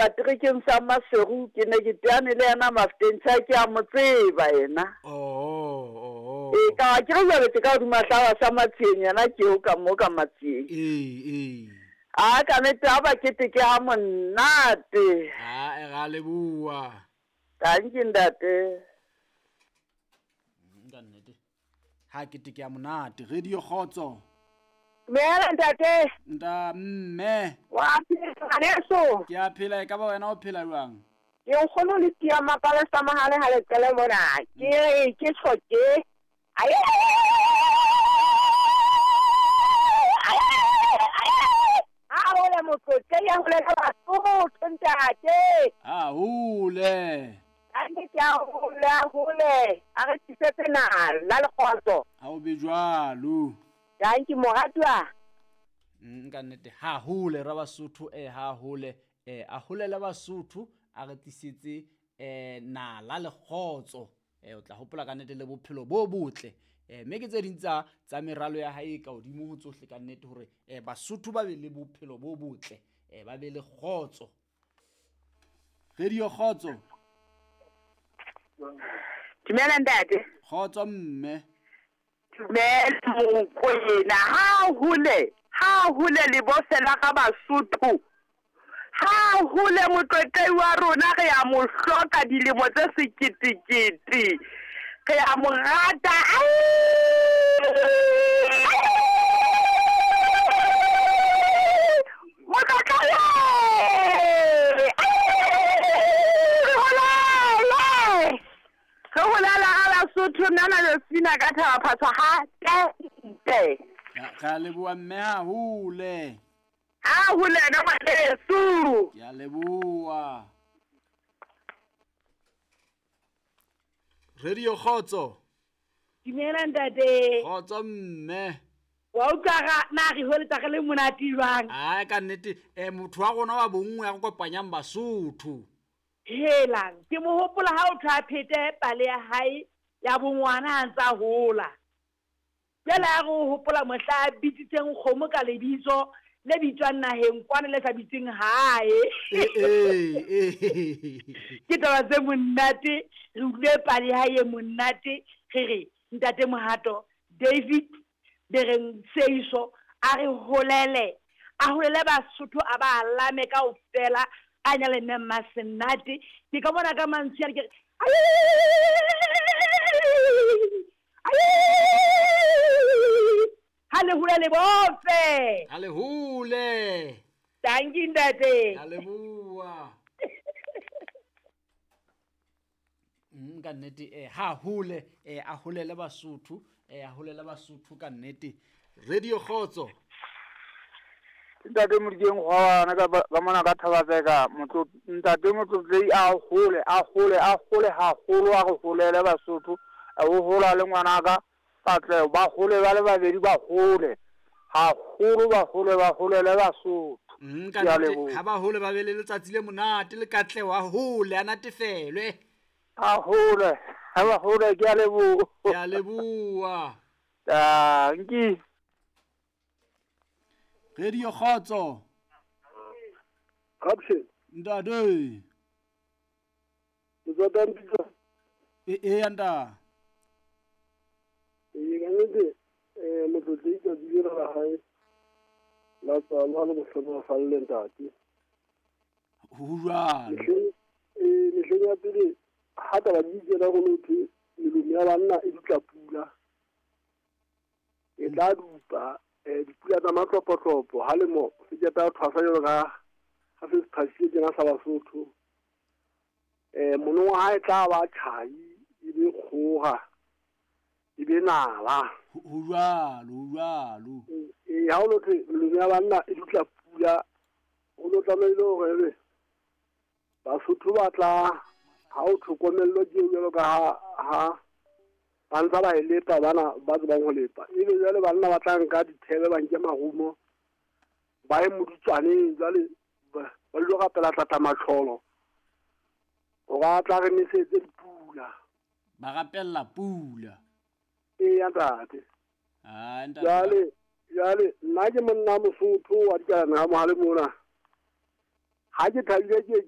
Seterekeng sa Maseru, ke ne ke teane le yena Mafteng, tjha ke a mo tseba yena. Oho, oho. Ee, ka ke re jwale ke ka hodima hlawa sa Matsieng, yena ke eo ka mo ka Matsieng. Ee, ee. A ka nete a ba keteke ha monate. A e ra leboha. Tanki ntate. Ka nnete. Ha keteke ya monate. Radio Kgotso. Dumela ntate. Nta mme. Wa phela ngwaneso. Ke a phela e ka ba wena o phela jwang? Ke nkgono le tia mapale sa mahale ha le qele mona. Ke re ke tjho ke. Ha hole motlotle ya hole ka Basotho ntate. Ha hole. Kannete ke a hole a hole a re tlisetse nala le kgotso. Ha o be jwalo. Danki moratuwa. Ka nnete ha hole ra Basotho ha hole a holele Basotho a re tlisetse nala le kgotso. O tla hopola ka nnete le bophelo bo botle. Mme ke tse ding tsa tsa meralo ya hae ka hodimo ho tsohle ka nnete hore Basotho ba be le bophelo bo botle, ba be le kgotso. Radio Kgotso. Dumela ntate. Kgotso mme. Dumela Mokwena. Ha hole, ha hole le bofela ga Basotho. Ha hole motlotlei wa rona re a mo hloka dilemo tse seketekete. Re a mo rata. Motlotlei! Re holele! Re holela ga Basotho nna na Josefina ka thaba phatswa ha tente. Re a leboha mme hahole. Ha hole na ngwaneso. Ke a leboha. Radio Kgotso. Dumela ntate. Kgotso mme. Wa utlwa ga na re holetsa re le monate jwang? Ai ka nnete motho wa rona wa bonngwe ya go kopanyang Basotho. Helang ke mo hopola ha o tla phete pale ya hae ya bongwana ha ntsa hola. Jwale ha re hopola mohla a bitsitseng kgomo ka lebitso le bitswang naheng kwana le sa bitseng hae. Ke taba tse monate, re utlwe pale ya hae e monate, re re ntate Mohato David Bereng Seiso a re holele, a holele Basotho a ba alame kaofela, a nyale mme Mmasenate. Ke ka bona ka mantswe a re ke re ha le hole le bofe. Ha le hole. Tanki ntate. Ha leboha. Ka nnete ha hole a holele Basotho, a holele Basotho ka nnete. Radio Kgotso. Ntate Modikeng Kgwana ka mona ka Thabatseka motlo ntate motlotlei a hole a hole a hole haholo a re holele Basotho o hola le ngwanaka Katlego ba hole ba le babedi ba hole haholo ba hole ba holele Basotho. Ka nnete ha ba hole ba be le letsatsi le monate le Katlego a hole a natefelwe. A hole ha ba hole ke a leboha. Ke a leboha. Danki. Radio Kgotso. Caption. Ntate. Ke tswa Tampitsa. E nta. Ee ka nnete motlotlei tsatsi lena la hae la tswalo le bohlohonolofalle ntate. Ho jwalo. Mehleng ya pele ha taba di tsena go thwe melomo ya banna e dutla pula. E tla dupa dipula tsa matlopotlopo ha lemo se keta thwasa jalo ka ha se thwasile tjena sa Basotho. Monongwa ha e tla ba tjhai e be kgoga e be nala. Ho jwalo, ho jwalo. Ha o lo thwe melomo ya banna e dutla pula o lo tlamehile hore ebe Basotho ba tla ha o tlhokomello ke jalo ka ha ba ntsa ba e lepa bana ba tsebang ho lepa. Ebe jwale banna ba tla nka dithebe ba nke marumo ba ye modutswaneng jwale ba lo rapela tlatla matlholo hore a tla re nesetse dipula. Ba rapella pula. Eya ntate. Ah ntate. Jwale nna ke monna Mosotho wa dikalana ha mohale mona. Ha ke thabile ke